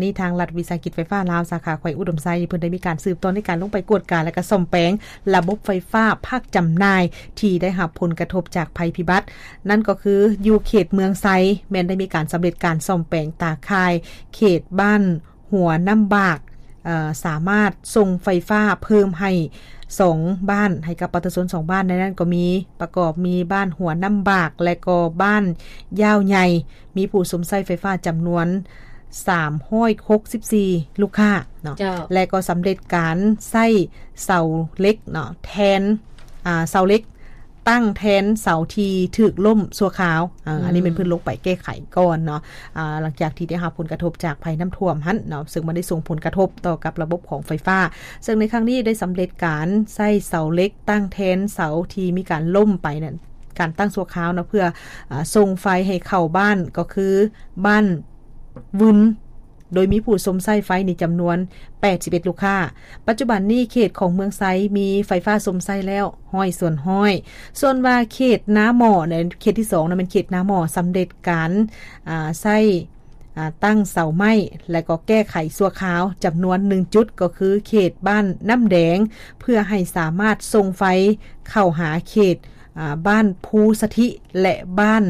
ນີ້ທາງລັດວິສາຫະກິດໄຟຟ້າລາວ ສາຂາແຂວງອຸດົມໄຊ ເພິ່ນໄດ້ມີການສືບຕໍ່ໃນການລົງໄປກວດກາ ແລະ ກໍສ້ອມແປງລະບົບໄຟຟ້າພາກຈຳໜ່າຍທີ່ໄດ້ຮັບຜົນກະທົບຈາກໄພພິບັດ. ນັ້ນກໍຄືຢູ່ເຂດເມືອງໄຊ ແມ່ນໄດ້ມີການສຳເລັດການສ້ອມແປງຕາຂ່າຍເຂດບ້ານຫົວນ້ຳບາກ, ເອີ ສາມາດສົ່ງໄຟຟ້າເພີ່ມໃຫ້ສອງບ້ານ ໃຫ້ກັບປະຊາຊົນສອງບ້ານ. ໃນນັ້ນກໍມີ ປະກອບມີບ້ານຫົວນ້ຳບາກ ແລະ ກໍບ້ານຢ້າວໃຫຍ່ ມີຜູ້ຊົມໃຊ້ໄຟຟ້າຈຳນວນສາມຮ້ອຍຫົກສິບສີ່ລູກຄ້າເນາະ ເຈົ້າ ແລະ ກໍສຳເລັດການໃຊ້ເສົາເຫຼັກເນາະ ແທນ ອ່າ ເສົາເຫຼັກຕັ້ງແທນເສົາທີ່ຖືກລົ້ມຊົ່ວຄາວ. ເອີ ອືມ ອັນນີ້ແມ່ນເພິ່ນລົງໄປແກ້ໄຂກ່ອນເນາະ ອ່າ ຫຼັງຈາກທີ່ໄດ້ຮັບຜົນກະທົບຈາກໄພນ້ຳຖ້ວມຫັ້ນເນາະ ເຊິ່ງມັນໄດ້ສົ່ງຜົນກະທົບຕໍ່ກັບລະບົບຂອງໄຟຟ້າ. ເຊິ່ງໃນຄັ້ງນີ້ໄດ້ສຳເລັດການໃຊ້ເສົາເຫຼັກຕັ້ງແທນເສົາທີ່ມີການລົ້ມໄປນັ້ນ ການຕັ້ງຊົ່ວຄາວເນາະ ເພື່ອ ອາ ສົ່ງໄຟໃຫ້ເຂົ້າບ້ານ ກໍຄືບ້ານວຶນ ໂດຍມີຜູ້ຊົມໃຊ້ໄຟນີ້ຈຳນວນແປດສິບເອັດລູກຄ້າ. ປັດຈຸບັນນີ້ເຂດຂອງເມືອງໄຊມີໄຟຟ້າຊົມໃຊ້ແລ້ວຮ້ອຍສ່ວນຮ້ອຍ. ສ່ວນວ່າເຂດນາໝໍ້ ໃນເຂດທີສອງນະ ແມ່ນເຂດນາໝໍ້ ສຳເລັດການ ອາ ໃຊ້ ອາ ຕັ້ງເສົາໄມ້ ແລະ ກໍແກ້ໄຂຊົ່ວຄາວຈຳນວນໜຶ່ງຈຸດ ກໍຄືເຂດບ້ານນ້ຳແດງ ເພື່ອໃຫ້ສາມາດສົ່ງໄຟເຂົ້າຫາເຂດ ອາ ບ້ານພູສະຖິ ແລະ ບ້ານ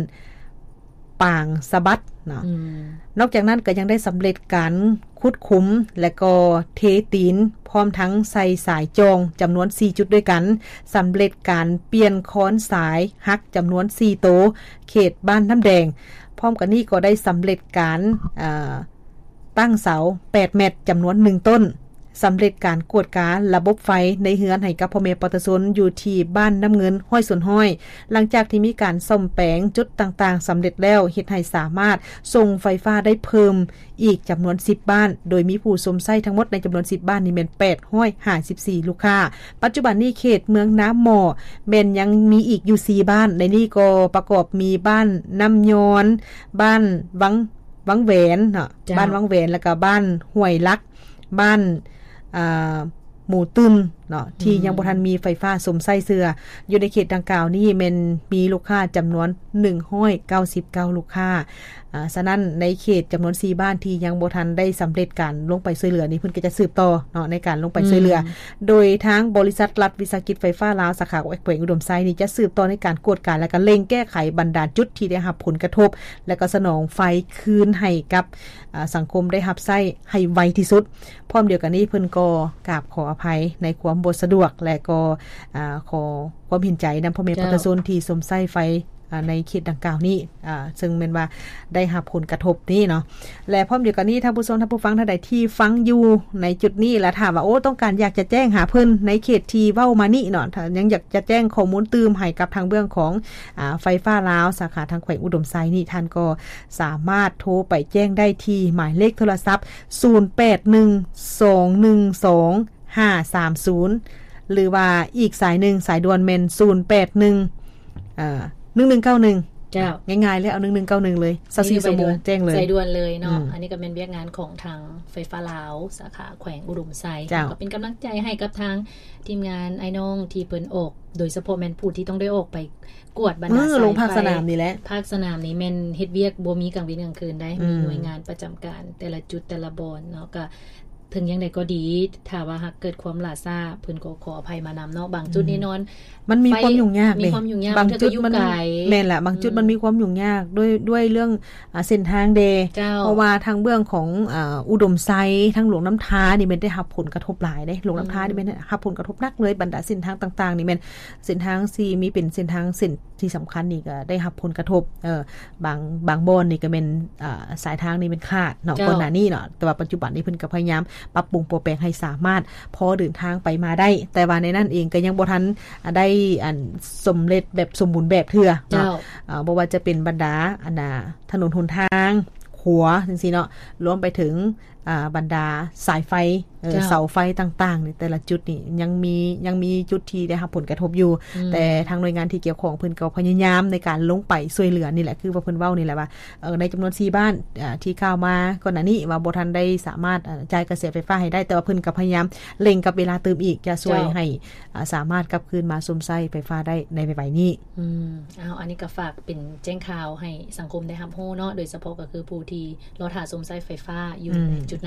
ປາງສະບັດເນາະ. ອືມ ນອກຈາກນັ້ນກໍຍັງໄດ້ສຳເລັດການຂຸດຂຸມ ແລະ ກໍເທຕີນ ພ້ອມທັງໃສ່ສາຍຈ່ອງຈຳນວນສີ່ຈຸດດ້ວຍກັນ, ສຳເລັດການປ່ຽນຄອນສາຍຫັກຈຳນວນສີ່ໂຕ ເຂດບ້ານນ້ຳແດງ. ພ້ອມກັນນີ້ກໍໄດ້ສຳເລັດການ ເອີ ຕັ້ງເສົາແປດແມັດຈຳນວນໜຶ່ງຕົ້ນ, ສຳເລັດການກວດກາລະບົບໄຟໃນເຮືອນໃຫ້ກັບພໍ່ແມ່ປະຊາຊົນຢູ່ທີ່ບ້ານນ້ຳເງິນຮ້ອຍສ່ວນຮ້ອຍ. ຫຼັງຈາກທີ່ມີການສ້ອມແປງຈຸດຕ່າງໆສຳເລັດແລ້ວ, ເຮັດໃຫ້ສາມາດສົ່ງໄຟຟ້າໄດ້ເພີ່ມອີກຈຳນວນສິບບ້ານ, ໂດຍມີຜູ້ຊົມໃຊ້ທັງໝົດໃນຈຳນວນສິບບ້ານນີ້ແມ່ນແປດຮ້ອຍຫ້າສິບສີ່ລູກຄ້າ. ປັດຈຸບັນນີ້ເຂດເມືອງນາໝໍ້ແມ່ນຍັງມີອີກຢູ່ສີ່ບ້ານ, ໃນນີ້ກໍປະກອບມີບ້ານນ້ຳຍອນ, ບ້ານວັງ ວັງແຫວນເນາະ, ເຈົ້າ ບ້ານວັງແຫວນ ແລ້ວກໍບ້ານຫ້ວຍຫຼັກ, ບ້ານ ອ່າ ໝູຕຶມເນາະ ທີ່ ອືມ ຍັງບໍ່ທັນມີໄຟຟ້າຊົມໃຊ້ເທື່ອ. ຢູ່ໃນເຂດດັ່ງກ່າວນີ້ແມ່ນມີລູກຄ້າຈຳນວນໜຶ່ງຮ້ອຍເກົ້າສິບເກົ້າລູກຄ້າ. ອ່າ ສະນັ້ນໃນເຂດຈຳນວນສີ່ບ້ານທີ່ຍັງບໍ່ທັນໄດ້ສຳເລັດການລົງໄປຊ່ວຍເຫຼືອນີ້ ເພິ່ນກໍຈະສືບຕໍ່ເນາະ ໃນການລົງໄປ ອືມ ຊ່ວຍເຫຼືອ. ໂດຍທາງບໍລິສັດລັດວິສາຫະກິດໄຟຟ້າລາວ ສາຂາແຂວງອຸດົມໄຊນີ້ ຈະສືບຕໍ່ໃນການກວດກາ ແລະ ກໍເລັ່ງແກ້ໄຂບັນດາຈຸດທີ່ໄດ້ຮັບຜົນກະທົບ ແລະ ກໍສະໜອງໄຟຄືນໃຫ້ກັບ ອາ ສັງຄົມໄດ້ຮັບໃຊ້ໃຫ້ໄວທີ່ສຸດ. ພ້ອມດຽວກັນນີ້ເພິ່ນກໍກາບຂໍອະໄພໃນຄວາມບໍ່ສະດວກ ແລະ ກໍ ອາ ຂໍຄວາມເຫັນໃຈນຳພໍ່ແມ່ ເຈົ້າ ປະຊາຊົນທີ່ຊົມໃຊ້ໄຟ ອາ ໃນເຂດດັ່ງກ່າວນີ້ ອາ ເຊິ່ງແມ່ນວ່າໄດ້ຮັບຜົນກະທົບນີ້ເນາະ. ແລະ ພ້ອມດຽວກັນນີ້ ທ່ານຜູ້ຊົມ ທ່ານຜູ້ຟັງທ່ານໃດທີ່ຟັງຢູ່ໃນຈຸດນີ້ ແລະ ຖ້າວ່າ ໂອ້ ຕ້ອງການຢາກຈະແຈ້ງຫາເພິ່ນໃນເຂດທີ່ເວົ້າມານີ້ເນາະ, ຖ້າຍັງຢາກຈະແຈ້ງຂໍ້ມູນຕື່ມໃຫ້ກັບທາງເບື້ອງຂອງ ອາ ໄຟຟ້າລາວ ສາຂາທາງແຂວງອຸດົມໄຊນີ້ ທ່ານກໍສາມາດໂທໄປແຈ້ງໄດ້ທີ່ໝາຍເລກໂທລະສັບ ສູນແປດໜຶ່ງ ສອງໜຶ່ງສອງ ຫ້າສາມສູນ ຫຼືວ່າອີກສາຍໜຶ່ງ ສາຍດ່ວນແມ່ນ ສູນແປດໜຶ່ງ ເອີ ໜຶ່ງໜຶ່ງເກົ້າໜຶ່ງ. ເຈົ້າ ງ່າຍໆເລີຍ ເອົາໜຶ່ງໜຶ່ງເກົ້າໜຶ່ງເລີຍ ຊາວສີ່ຊົ່ວໂມງ ແຈ້ງເລີຍ ສາຍດ່ວນເລີຍເນາະ. ອືມ ອັນນີ້ກໍແມ່ນວຽກງານຂອງທາງໄຟຟ້າລາວ ສາຂາແຂວງອຸດົມໄຊ. ເຈົ້າ ກໍເປັນກຳລັງໃຈໃຫ້ກັບທາງທີມງານອ້າຍນ້ອງທີ່ເພິ່ນອອກ ໂດຍສະເພາະແມ່ນຜູ້ທີ່ຕ້ອງໄດ້ອອກໄປກວດບັນດາ ເອີ ສາຍໄຟ ລົງພາກສະໜາມນີ້ແຫຼະ. ພາກສະໜາມນີ້ແມ່ນເຮັດວຽກບໍ່ມີກາງເວັນກາງຄືນໄດ໋. ອືມ ມີໜ່ວຍງານປະຈຳການແຕ່ລະຈຸດແຕ່ລະບ່ອນເນາະ. ກໍ ເຖິງຢ່າງໃດກໍດີ ຖ້າວ່າຫາກເກີດຄວາມຫຼ້າຊ້າ ເພິ່ນກໍຂໍອະໄພມານຳເນາະ. ບາງຈຸດ ອືມ ແນ່ນອນ ມັນມີ ໄຟ ຄວາມຫຍຸ້ງຍາກ ມີ ເດ້ ຄວາມຫຍຸ້ງຍາກ ບາງຈຸດ ມັນກໍຢູ່ໄກ ແມ່ນລະ ບາງຈຸດ ອືມ ມັນມີຄວາມຫຍຸ້ງຍາກດ້ວຍ ດ້ວຍເລື່ອງ ອ່າ ເສັ້ນທາງແດ່. ເຈົ້າ ເພາະວ່າທາງເບື້ອງຂອງ ອ່າ ອຸດົມໄຊ ທາງຫຼວງນ້ຳທານີ້ແມ່ນໄດ້ຮັບຜົນກະທົບຫຼາຍເດ້. ຫຼວງນ້ຳທາ ອືມ ນີ້ແມ່ນໄດ້ຮັບຜົນກະທົບໜັກເລີຍ, ບັນດາເສັ້ນທາງຕ່າງໆນີ້ແມ່ນເສັ້ນທາງທີ່ມີ ເປັນເສັ້ນທາງເສັ້ນ ທີ່ສຳຄັນນີ້ກໍໄດ້ຮັບຜົນກະທົບ ເອີ ບາງ ບາງບ່ອນນີ້ກໍແມ່ນ ເອີ ສາຍທາງນີ້ແມ່ນຂາດເນາະ ເຈົ້າ ກ່ອນໜ້ານີ້ເນາະ, ແຕ່ວ່າປັດຈຸບັນນີ້ເພິ່ນກໍພະຍາຍາມປັບປຸງປົວແປງໃຫ້ສາມາດພໍເດີນທາງໄປມາໄດ້, ແຕ່ວ່າໃນນັ້ນເອງກໍຍັງບໍ່ທັນ ອາ ໄດ້ ອັນ ສຳເລັດແບບສົມບູນແບບເທື່ອເນາະ. ເຈົ້າ ເອີ ບໍ່ວ່າຈະເປັນບັນດາ ອັນ ອາ ຖະໜົນຫົນທາງ, ຂົວ ຈັ່ງຊີ້ເນາະ, ລວມໄປເຖິງ ອ່າ ບັນດາສາຍໄຟ ເອີ ເຈົ້າ ເສົາໄຟຕ່າງໆ ໃນແຕ່ລະຈຸດນີ້ຍັງມີ ຍັງມີຈຸດທີ່ໄດ້ຮັບຜົນກະທົບຢູ່ ອືມ ແຕ່ທາງໜ່ວຍງານທີ່ກ່ຽວຂ້ອງເພິ່ນກໍພະຍາຍາມໃນການລົງໄປຊ່ວຍເຫຼືອນີ້ແຫຼະ ຄືວ່າເພິ່ນເວົ້ານີ້ແຫຼະວ່າ ເອີ ໃນຈຳນວນສີ່ບ້ານ ອ່າ ທີ່ກ່າວມາກ່ອນໜ້ານີ້ວ່າບໍ່ທັນໄດ້ສາມາດ ເອີ ຈ່າຍກະແສໄຟຟ້າໃຫ້ໄດ້ ແຕ່ວ່າເພິ່ນກໍພະຍາຍາມເລັ່ງກັບເວລາຕື່ມອີກ ຈະຊ່ວຍ ເຈົ້າ ໃຫ້ ອ່າ ສາມາດກັບຄືນມາຊົມໃຊ້ໄຟຟ້າໄດ້ໃນໄວໆນີ້. ອືມ ເອົາ ອັນນີ້ກໍຝາກເປັນແຈ້ງຂ່າວໃຫ້ສັງຄົມໄດ້ຮັບຮູ້ເນາະ, ໂດຍສະເພາະກໍຄືຜູ້ທີ່ລໍຖ້າຊົມໃຊ້ໄຟຟ້າຢູ່ ອືມ ໃນຈຸດ